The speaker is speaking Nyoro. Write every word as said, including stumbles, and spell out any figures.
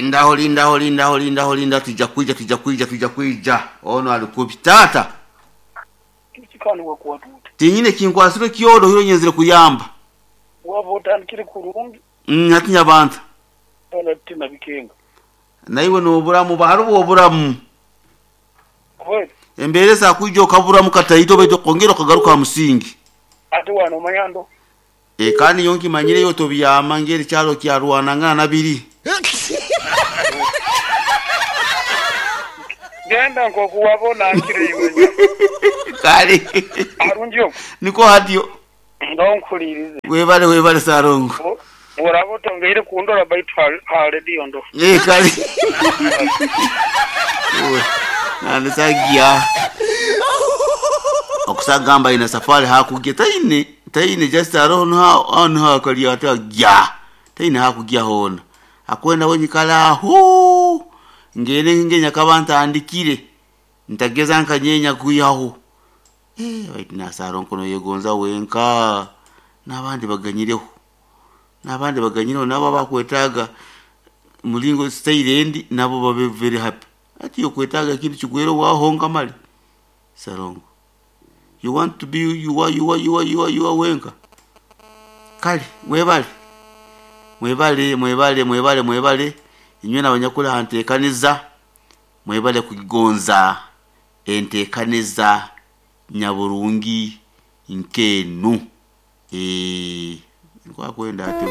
Lindaho, lindaho, lindaho, lindaho, linda, tujja kwija, tujja kwija, tujja kwija. Ono alikubi taata. Kikani wakuwatuta. Tinyine kinkwasire kyodo hiro nyenzire kuyamba. Waba otandikire kurungi. Mm, hati nyabanta. Ona tina bikenga. Naiwe noburamu baharubu oburamu. Kweli. Embere za kwijja okaburamu kataito beto kongera okagaruka musingi. Ate wano mayando. E kandi yonki manyire yo tobyama ngeri kyalo kya Rwanda nabiri. Genda nkokuwabona nkire iwe. Kale. Arungi yo. Niko hadiyo. Ndonkulirize. Webale webale sarongo. Urabo tongeire kundora baitu ha radio ndo. Eh kale. Owe. Nanisagia. Okusagamba ina safari hakugya taine taine just aroho ha on ha kali ata gya. Taine hakugya hona. Akwenda wenyikala hu. Ngene ngenya kabanta andikire. Ntageza nkanyenya kuyaho. Eh wait na sarongo no yegonza wenka. Nabandi baganyireho. Nabandi baganyireho nabo bakwetaga mulingo style endi nabo babe very happy. Ati yokwetaga kintu kigwero wahonga mali. Sarongo. You want to be you are you are you are you are you are wenka. Kale mwebale. Mwebale mwebale mwebale mwebale inywe nabanyakula hantekaniza mwebale kugonza entekaniza nyaburungi nkenu. Eh kwa kwenda ate.